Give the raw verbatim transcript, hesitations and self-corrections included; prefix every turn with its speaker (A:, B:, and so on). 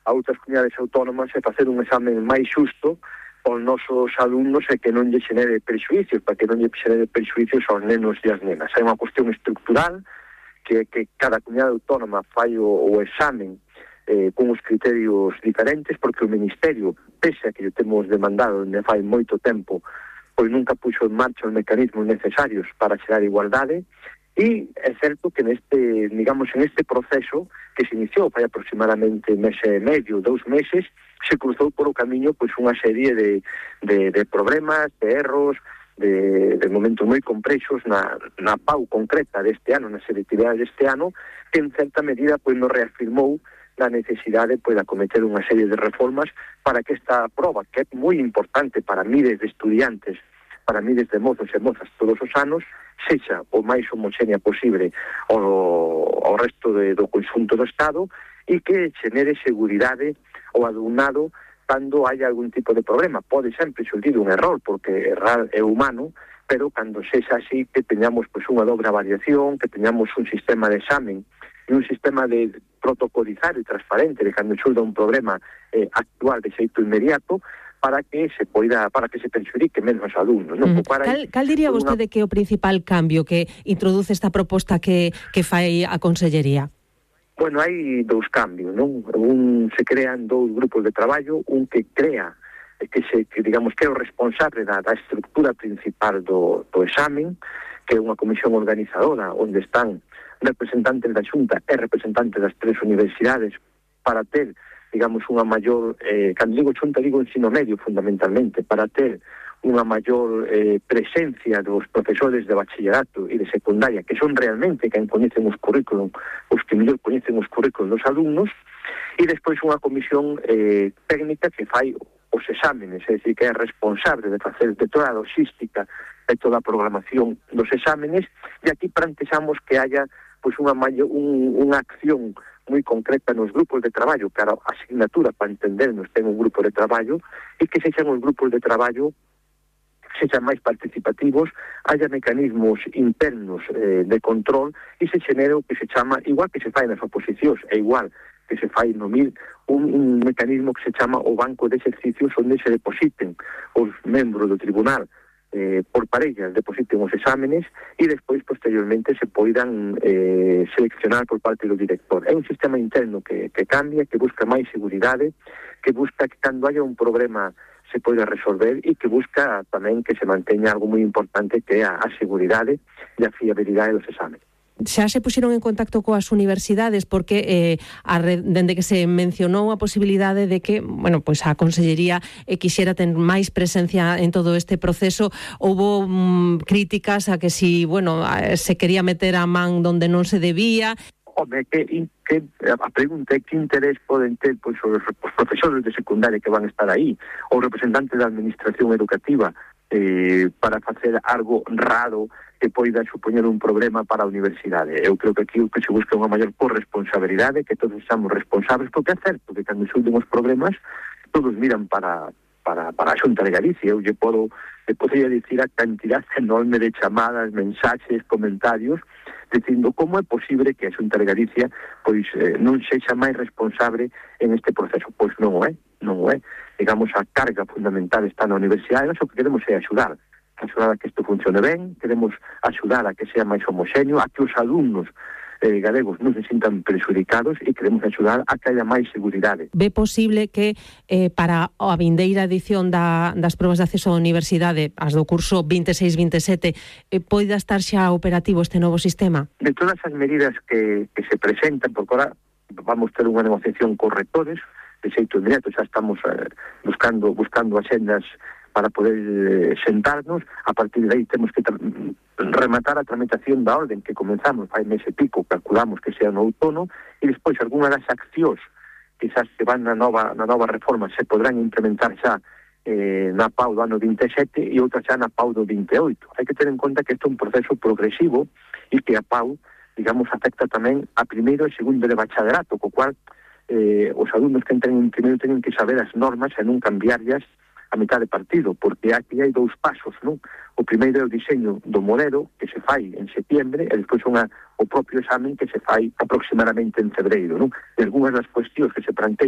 A: a outras comunidades autónomas e facer un examen máis xusto aos nosos alumnos e que non lle xenere prexuicios, para que non lle xenere prexuicios aos nenos e as nenas. É unha cuestión estructural que, que cada comunidade autónoma fai o, o examen eh, con os criterios diferentes, porque o Ministerio, pese a que lle temos demandado onde fai moito tempo, pois nunca puxo en marcha os mecanismos necesarios para xerar igualdade. E é certo que neste, digamos, en este proceso que se iniciou fai aproximadamente mes e medio, dous meses, se cruzou por o camiño pois unha serie de, de, de problemas, de erros, de, de momentos moi complexos na, na P A U concreta deste ano, na selectividade deste ano, que en certa medida pois nos reafirmou na necesidade pois, de acometer unha serie de reformas para que esta proba, que é moi importante para miles de estudiantes, para miles de mozos e mozas todos os anos, sexa o máis homoxénea posible ao, ao resto de, do conxunto do Estado e que xenere seguridade ao alumnado cando hai algún tipo de problema. Pode sempre xurdir un error, porque errar é humano, pero cando sexa así que teñamos pois, unha dobra variación, que teñamos un sistema de examen e un sistema de protocolizar e transparente de cando xurda un problema eh, actual de xeito inmediato, para que se poida, para que se perxudique menos os alumnos, non?
B: Mm. Cal, cal diría vostede una... que é o principal cambio que introduce esta proposta que, que fai a Consellería?
A: Bueno, hai dous cambios, non? Un, se crean dous grupos de traballo, un que crea, que se, que digamos que é o responsable da, da estructura principal do, do examen, que é unha comisión organizadora, onde están representantes da Xunta e representantes das tres universidades para ter, digamos, unha maior, eh, cando digo xunta, digo ensino medio, fundamentalmente, para ter unha maior eh, presencia dos profesores de bachillerato e de secundaria, que son realmente quen coñecen os currículum, os que mellor coñecen os currículum dos alumnos, e despois unha comisión eh, técnica que fai os exámenes, é dicir, que é responsable de facer de toda a logística e toda a programación dos exámenes, e aquí plantexamos que haya pois unha, maior, un, unha acción moi concreta nos grupos de traballo, que a asignatura, para entendernos, ten un grupo de traballo, e que sexan os grupos de traballo sexan máis participativos, haya mecanismos internos eh, de control e se xenere o que se chama, igual que se fai nas oposicións, é igual que se fai no M I L, un, un mecanismo que se chama o banco de exercicios onde se depositen os membros do tribunal eh, por parellas, depositen os exámenes e despois, posteriormente, se poidan eh, seleccionar por parte do director. É un sistema interno que, que cambia, que busca máis seguridade, que busca que cando haya un problema se poida resolver e que busca tamén que se manteña algo moi importante que é a, a seguridade e a fiabilidade dos exámenes.
B: Xa se puxeron en contacto coas universidades porque eh, a red, dende que se mencionou a posibilidade de que, bueno, pois a Consellería eh, quixera ter máis presencia en todo este proceso, houbo mm, críticas a que si, bueno, se quería meter a man donde non se debía.
A: Home, que, que a pregunta é que interés poden ter pois, os, os profesores de secundaria que van estar aí, ou representantes da administración educativa, eh, para facer algo raro que poida supoñer un problema para a universidade. Eu creo que aquí o que se busca é unha maior corresponsabilidade, que todos estamos responsables, porque é certo que cando xulten os problemas todos miran para, para, para a Xunta de Galicia. Eu lle podo, lle podría dicir a cantidad enorme de chamadas, mensaxes, comentarios, dicindo como é posible que a Xunta de Galicia pois eh, non sexa máis responsable en este proceso. Pois non o é, non o é. Digamos, a carga fundamental está na universidade, nós o que queremos é axudar, axudar a que isto funcione ben, queremos axudar a que sea máis homoxéneo, a que os alumnos eh, galegos non se sintan perxudicados e queremos axudar a que haya máis seguridade.
B: Ve posible que eh, para a vindeira edición da, das probas de acceso á universidade, as do curso vinte e seis vinte e sete, eh, poida estar xa operativo este novo sistema?
A: De todas as medidas que, que se presentan, porque ahora vamos ter unha negociación con rectores, de xeito inmediato, xa estamos eh, buscando buscando axendas para poder eh, sentarnos. A partir de aí temos que rematar a tramitación da orden que comenzamos fai mes e pico, calculamos que sea no outono, e despois algunha das accións quizás que van na nova, na nova reforma se podrán implementar xa eh, na P A U do ano vinte e sete e outras xa na P A U do vinte e oito. Hai que ter en conta que isto é un proceso progresivo e que a P A U, digamos, afecta tamén a primeiro e segundo de bachillerato, co cual eh, os alumnos que entren en primeiro teñen que saber as normas e non cambiarlas a mitad de partido, porque aquí hai dous pasos, non? O primeiro é o diseño do modelo, que se fai en setiembre, e despois unha, o propio examen que se fai aproximadamente en febreiro, non? E algunhas das cuestións que se plantean